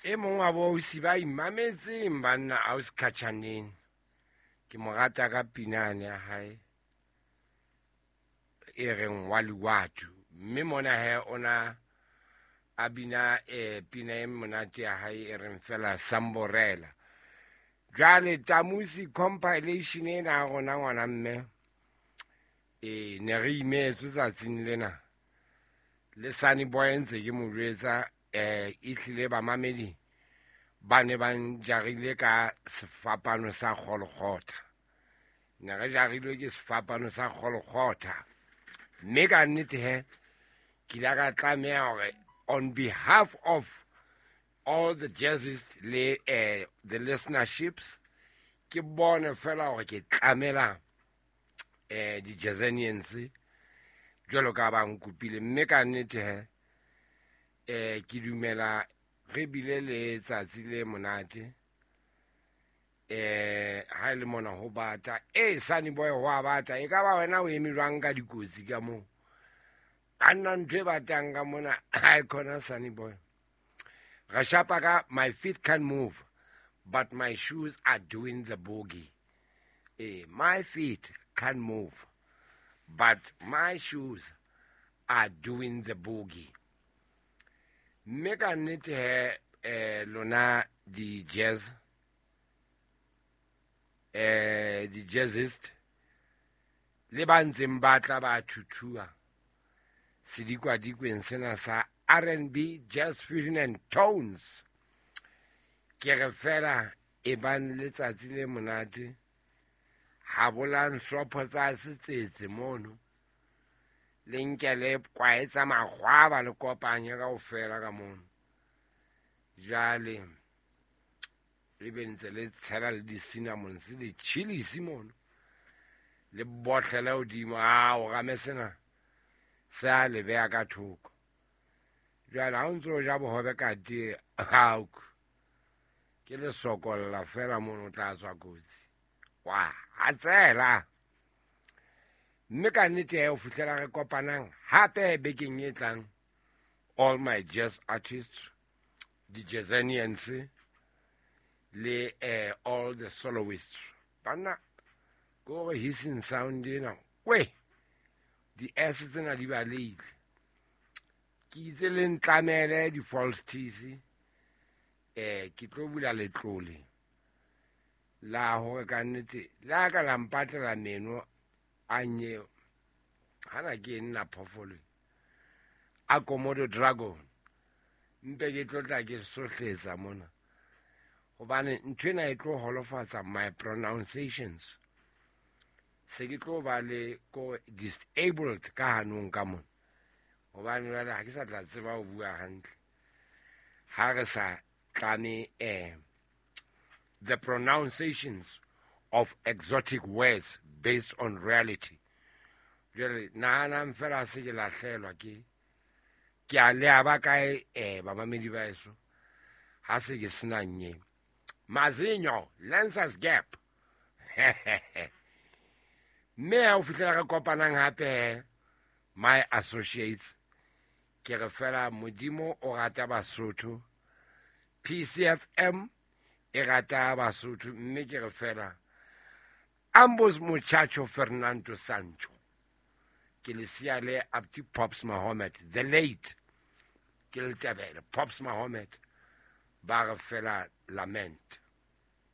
E mong wa boausi ba imametseng banna ausi Khatjhaneng, ke mo rata ka pinane ya hae e reng wa liwatu. Mme mona he ona a bina pina e monate ya hae e reng fela Samborela. Jwale Tamusi compilation ena ya rona ngwana mme, ne re imetswe tsatsing lena. Le Sunny Boy ntse ke mo jwetsa, ehlile bamamedi ba ne ba njarile ka sefapano sa Golgotha. Ne re jarilwe ke sefapano sa Golgotha. Mme ka nnete he, ke ile ka tlameha hore on behalf of all the jazzists le the listenerships, ke bone fela hore ke tlamela di-jazzanians jwalo ka ba nkopile. Mme ka nnete he, ke dumela re bile le tsatsi le monate. Ha e le mona ho bata. Sunny Boy ho a bata. E ka ba wena o eme jwang ka dikotsi ka moo? A nna ntho e batang ka mona, ha e khona Sunny Boy. Re shapa ka my feet can't move, but my shoes are doing the boogie. My feet can't move, but my shoes are doing the boogie. Mme ka nnete he, lona di-jazz, di-jazzist, le ba ntseng ba tla ba thuthua sedikwadikweng sena sa R&B, Jazz Fusion and Tones. Ke re fela e bang letsatsi le monate, ha bolang hlopho tsa setsetse mono, le nke le kwae tsa makgwaba le kopanye kaofela ka mono. Jwale e be ntse le tshela le di-cinnamons le chilies mono, le botlele hodimo. A o rame sena se a le beha ka thoko. Jwale ha o ntso o ja bohobe ka tee, ao, ke le sokolla fela mono, o tla tswa kotsi. Wa hatsela. Mme ka nnete he, ho fihlela re kopanang hape bekeng e tlang, all my jazz artists, di-jazzanians, le all the soloists. Banna, ke hore hissing sound ena, we, di-S tsena di balehile. Ke itse le ntlamele di-false teeth, ke tlo bula letlole la hore ka nnete le ha ka la mpatlela meno a nye, hana ke nna phoofolo a Komodo dragon, mpe ke tlo tla ke sohletsa mona, hobane ntho ena e tlo holofatsa my pronunciations. Se ke tlo ba le ko disabled ka hanong ka mona, hobane jwale ha ke sa tla tseba ho bua hantle ha re sa tlame the pronunciations of exotic words based on reality. Jwale nahanang fela se ke lahlelwa ke a le ba kae, bamamedi ba eso, ha se ke sena nye mazinyo Lancers Gap. Mme ha o fihlela re kopanang hape, my associates, ke re fela Modimo o rata Basotho, PCFM e rata Basotho, mme ke re fela ambos muchacho Fernando Sancho, ke le siya le Abdi Pops Mahomet, the late, ke le tebele Pops Mahomet, ba re fela lament.